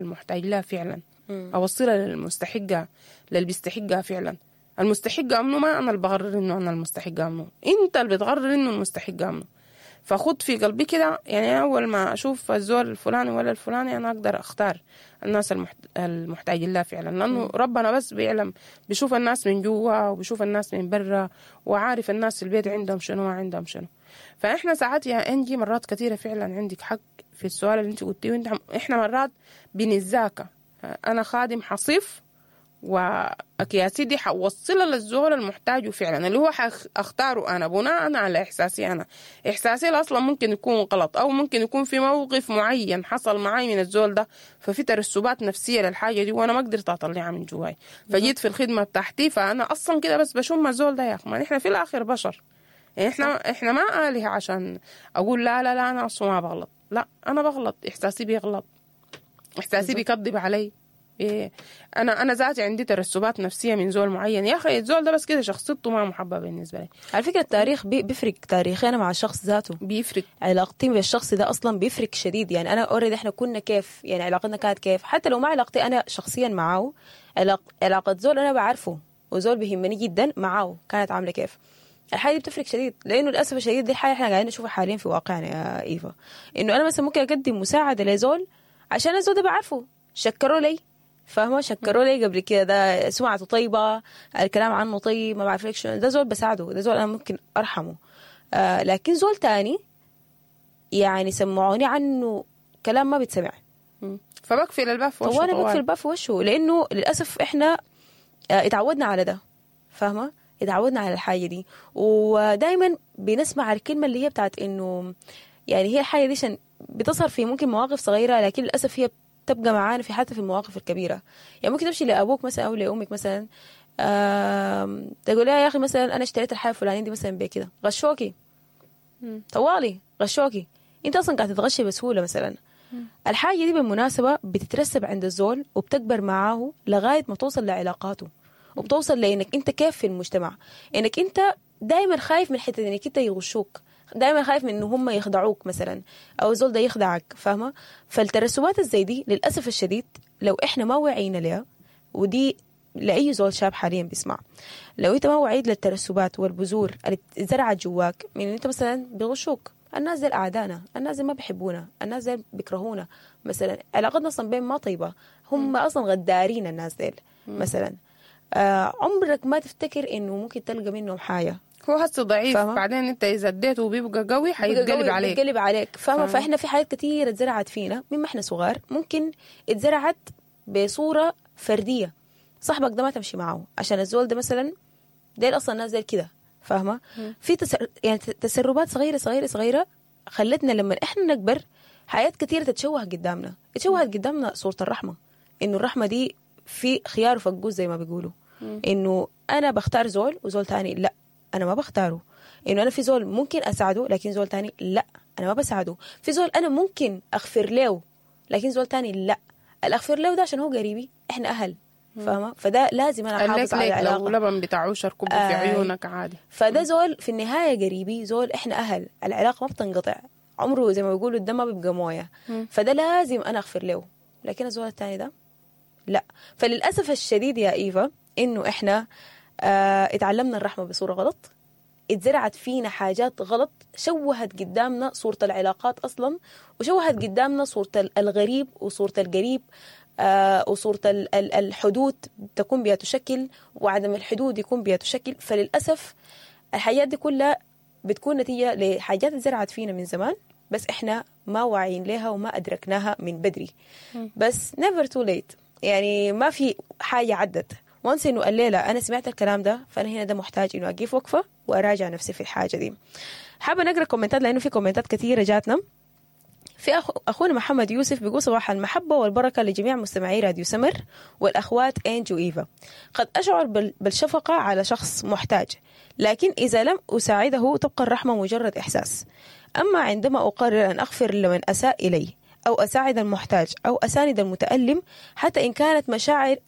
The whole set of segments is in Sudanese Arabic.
المحتاج لها فعلا، اوصلها للمستحقها، للي بيستحقها فعلا. المستحقها منه ما انا اللي بقرر انه انا المستحقها منه، انت اللي بتقرر انه المستحقها منه. فخد في قلبي كده، يعني اول ما اشوف الزول الفلاني ولا الفلاني انا اقدر اختار الناس المحتاجين لها فعلا، لانه ربنا بس بيعلم، بيشوف الناس من جوا وبيشوف الناس من برا، وعارف الناس في البيت عندهم شنو ما عندهم شنو. فاحنا ساعات يا انجي مرات كثيرة فعلا عندك حق في السؤال اللي انت قلتيه، وانت احنا مرات بنتذاكى. انا خادم حصيف واكياسي دي حوصلها للزول المحتاجه فعلا، اللي هو اختاره انا بناء على احساسي انا. احساسي اصلا ممكن يكون غلط، او ممكن يكون في موقف معين حصل معي من الزول ده، ففي ترسبات نفسية للحاجة دي وانا ما قدرت اطلعها من جواي، فجيت في الخدمة بتاعتي فانا اصلا كده بس بشم الزول ده. يا اخي ما نحن في الاخر بشر، يعني احنا ما آلهة عشان اقول لا لا لا انا اصلا ما بغلط. لا انا بغلط، احساسي بيغلط، احساسي بيكذب علي. إيه انا ذاتي عندي ترسبات نفسية من زول معين، يا اخي الزول ده بس كده شخصيته ما محبة بالنسبة لي. على فكرة التاريخ بيفرق، تاريخي انا مع الشخص ذاته بيفرق، علاقتي بالشخص ده اصلا بيفرق شديد. يعني انا already احنا كنا كيف، يعني علاقتنا كانت كيف، حتى لو ما علاقتي انا شخصيا معاه، علاقة زول انا بعرفه وزول بيهمني جدا معاه كانت عامله كيف. الحاجة دي بتفرق شديد، لانه للاسف الشديد دي الحاجة احنا قاعدين نشوفها حاليا في واقعنا يا ايفا، انه انا مثلا ممكن اقدم مساعدة لزول عشان الزول ده بعرفه، شكروا لي، فاهمه، شكروا لي قبل كده، ده سمعته طيبة، الكلام عنه طيب، ما بعرف لك شنو، ده زول بساعده، ده زول انا ممكن ارحمه. لكن زول تاني يعني سمعوني عنه كلام ما بيتسمع، فبقفل الباب في وشه. وانا بقفل الباب في وشه، لانه للاسف احنا اتعودنا على ده، فاهمه، اتعودنا على الحاجة دي، ودايما بنسمع الكلمة اللي هي بتاعت انه يعني هي الحاجة دي عشان بتظهر في ممكن مواقف صغيرة، لكن للاسف هي تبقى معانا في حتى في المواقف الكبيرة. يعني ممكن تمشي لابوك مثلا او لامك مثلا، تقول لها يا اخي مثلا انا اشتريت الحاجة الفلانية دي مثلا بكده، غشوكي طوالي، غشوكي، انت اصلا قاعد تتغشي بسهولة مثلا. الحاجة دي بالمناسبة بتترسب عند الزول وبتكبر معاه لغاية ما توصل لعلاقاته، وبتوصل لانك انت كيف في المجتمع، انك انت دايما خايف من حتة انك انت يغشوك، دايما خايف من انه هم يخدعوك مثلا، او الزول ده يخدعك، فاهمه. فالترسبات الزي دي للاسف الشديد لو احنا ما وعينا لها، ودي لاي زول شاب حاليا بيسمع، لو انت ما وعيت للترسبات والبذور اللي زرعت جواك من انت مثلا بيغشوك، الناس دي اعدائنا، الناس دي ما بيحبونا، الناس دي بيكرهونا مثلا، علاقتنا اصلا بين ما طيبة، هم اصلا غدارين الناس ديل مثلا. عمرك ما تفتكر انه ممكن تلقى منهم حاجة، هو هسه ضعيف، بعدين انت اذا اديته وبيبقى قوي حيتقلب عليك، بيتقلب عليك، فاهمه. فاحنا في حاجات كثيرة اتزرعت فينا مما احنا صغار، ممكن اتزرعت بصورة فردية، صاحبك ده ما تمشي معه عشان الزول ده مثلا، ديل اصلا الناس ديل كده، فاهمه. في يعني تسربات صغيرة صغيرة صغيرة خلتنا لما احنا نكبر حاجات كثيرة تتشوه قدامنا، اتشوهت قدامنا صوره الرحمة، انه الرحمة دي في خيار وفقوس زي ما بيقولوا، انه انا بختار زول وزول تاني لا انا ما بختاره، انه انا في زول ممكن اساعده لكن زول تاني لا انا ما بساعده، في زول انا ممكن اغفر له لكن زول تاني لا، الاغفر له ده عشان هو قريبي، احنا اهل، فاهمه. فده لازم انا احافظ على العلاقة، لو لبن بتاع عشر كبه في عيونك عادي، فده زول في النهاية قريبي، زول احنا اهل، العلاقة ما بتنقطع، عمره زي ما بيقولوا الدم ما بيبقى مويه، فده لازم انا اغفر له، لكن الزول التاني ده لا. فللاسف الشديد يا ايفا انه احنا اتعلمنا الرحمة بصورة غلط، اتزرعت فينا حاجات غلط، شوهت قدامنا صورة العلاقات أصلا، وشوهت قدامنا صورة الغريب وصورة القريب، وصورة الحدود تكون بها تشكل، وعدم الحدود يكون بها تشكل. فللأسف الحاجات دي كلها بتكون نتيجة لحاجات اتزرعت فينا من زمان، بس احنا ما واعيين لها وما أدركناها من بدري. بس never too late، يعني ما في حاجة عدت. وانس انه الليلة انا سمعت الكلام ده، فانا هنا ده محتاج انه اقف وقفه واراجع نفسي في الحاجة دي. حابة نقرا كومنتات لانه في كومنتات كثيرة جاتنا. في اخونا محمد يوسف بيقول صباح المحبة والبركة لجميع مستمعي راديو سمر والاخوات انج وايفا. قد اشعر بالشفقه على شخص محتاج، لكن اذا لم اساعده تبقى الرحمة مجرد احساس. اما عندما اقرر ان اغفر لمن اساء الي، أو أساعد المحتاج، أو أساند المتألم، حتى إن كانت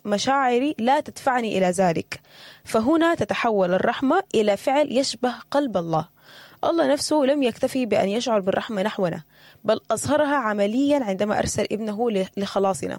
مشاعري لا تدفعني إلى ذلك، فهنا تتحول الرحمة إلى فعل يشبه قلب الله. الله نفسه لم يكتفي بأن يشعر بالرحمة نحونا، بل أظهرها عمليا عندما أرسل ابنه لخلاصنا.